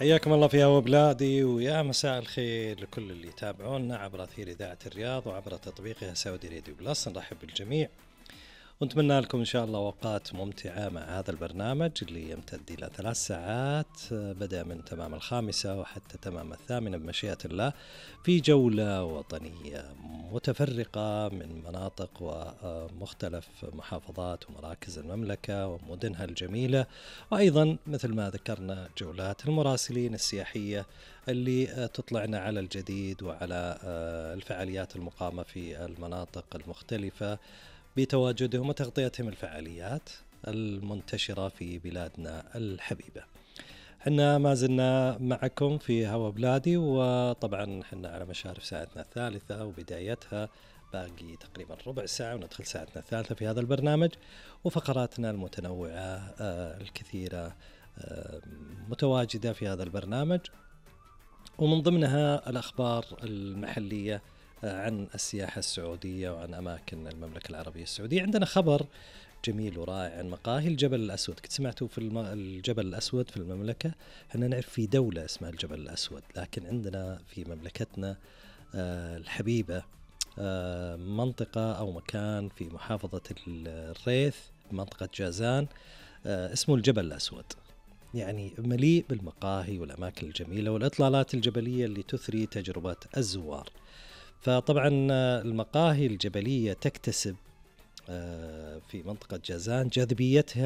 حياكم الله في هوا بلادي، ويا مساء الخير لكل اللي يتابعونا عبر أثير إذاعة الرياض وعبر تطبيقها سعودي راديو بلس. نرحب بالجميع ونتمنى لكم إن شاء الله أوقات ممتعة مع هذا البرنامج اللي يمتد إلى 3 ساعات، بدأ من تمام 5 وحتى تمام 8 بمشيئة الله، في جولة وطنية متفرقة من مناطق ومختلف محافظات ومراكز المملكة ومدنها الجميلة، وأيضا مثل ما ذكرنا جولات المراسلين السياحية اللي تطلعنا على الجديد وعلى الفعاليات المقامة في المناطق المختلفة بتواجدهم وتغطيتهم الفعاليات المنتشرة في بلادنا الحبيبة. حنا ما زلنا معكم في هوا بلادي، وطبعا حنا على مشارف ساعتنا الثالثة وبدايتها باقي تقريبا ربع ساعة وندخل ساعتنا الثالثة في هذا البرنامج، وفقراتنا المتنوعة الكثيرة متواجدة في هذا البرنامج، ومن ضمنها الأخبار المحلية عن السياحة السعودية وعن أماكن المملكة العربية السعودية. عندنا خبر جميل ورائع عن مقاهي الجبل الأسود. كنت سمعتوا في الجبل الأسود في المملكة؟ احنا نعرف في دولة اسمها الجبل الأسود، لكن عندنا في مملكتنا الحبيبة منطقة أو مكان في محافظة الريث، منطقة جازان، اسمه الجبل الأسود. يعني مليء بالمقاهي والأماكن الجميلة والإطلالات الجبلية اللي تثري تجربة الزوار. فطبعا المقاهي الجبلية تكتسب في منطقة جازان جاذبيتها